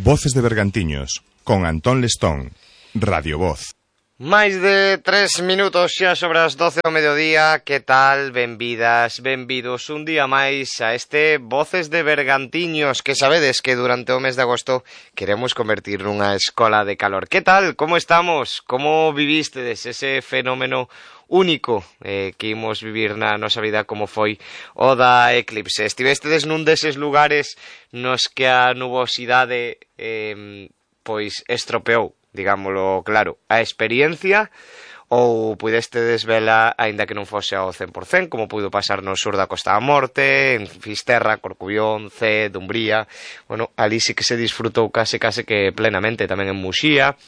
Voces de Bergantiños, con Antón Lestón, Radio Voz. Máis de 3 minutos xa sobre as 12 do mediodía. Que tal? Benvidas, benvidos un día máis a este Voces de Bergantiños, que sabedes que durante o mes de agosto queremos convertir nunha escola de calor. Que tal? Como estamos? Como vivistedes ese fenómeno único que imos vivir na nosa vida como foi o da eclipse? Estivestedes nun deses lugares nos que a nubosidade pois estropeou, digámoslo claro, a experiencia, ou pudestedes vela aínda que non fose ao 100%, como puido pasar no sur da Costa da Morte, en Fisterra, Corcubión, Cee, Dumbría. Bueno, ali sí que se disfrutou case que plenamente, tamén en Muxía.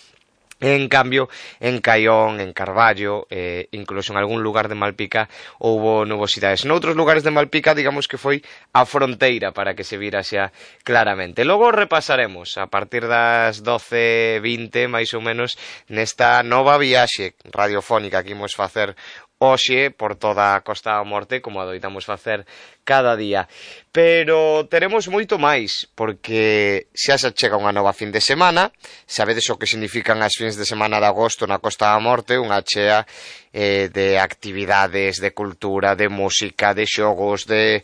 En cambio, en Caión, en Carballo, incluso en algún lugar de Malpica houbo nubosidades. Noutros lugares de Malpica, digamos que foi a fronteira para que se vira xa claramente. Logo repasaremos a partir das 12:20, máis ou menos, nesta nova viaxe radiofónica que imos facer hoxe por toda a Costa da Morte, como adoitamos facer cada día. Pero teremos moito máis, porque xa se chega unha nova fin de semana. Sabedes o que significan as fins de semana de agosto na Costa da Morte, unha chea de actividades, de cultura, de música, de xogos, de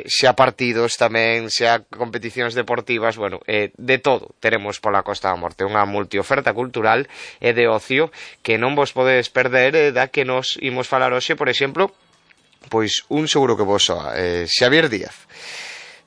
xa partidos tamén, xa competicións deportivas, bueno, de todo teremos pola Costa da Morte. Unha multioferta cultural e de ocio que non vos podedes perder, da que nos imos falar hoxe, por exemplo, pois un seguro que vos soa, Xavier Díaz.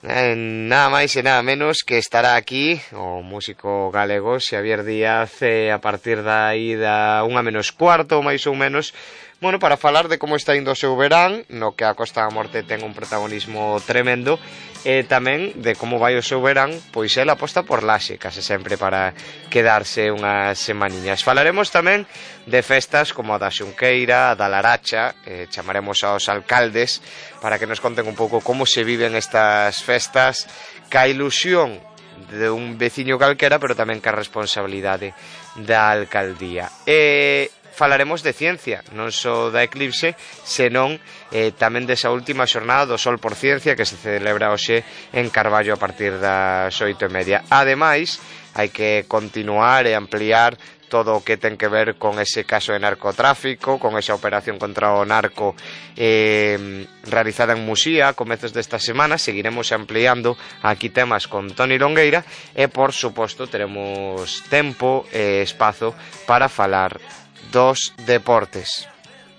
Nada máis e nada menos que estará aquí o músico galego Xavier Díaz a partir da ida 1:15, máis ou menos, bueno, para falar de como está indo o seu verán, no que a Costa da Morte ten un protagonismo tremendo, e tamén de como vai o seu verán, pois ela aposta por Laxe, case sempre, para quedarse unhas semaniñas. Falaremos tamén de festas como a da Xunqueira, a da Laracha, chamaremos aos alcaldes para que nos conten un pouco como se viven estas festas, ca ilusión de un veciño calquera, pero tamén ca responsabilidade da alcaldía. Falaremos de ciencia, non só da eclipse, senón tamén desa última xornada do Sol por Ciencia que se celebra hoxe en Carballo a partir das 8:30. Ademais, hai que continuar e ampliar todo o que ten que ver con ese caso de narcotráfico, con esa operación contra o narco realizada en Muxía a comezos desta semana. Seguiremos ampliando aquí temas con Toni Longueira e, por suposto, teremos tempo e espazo para falar dos deportes.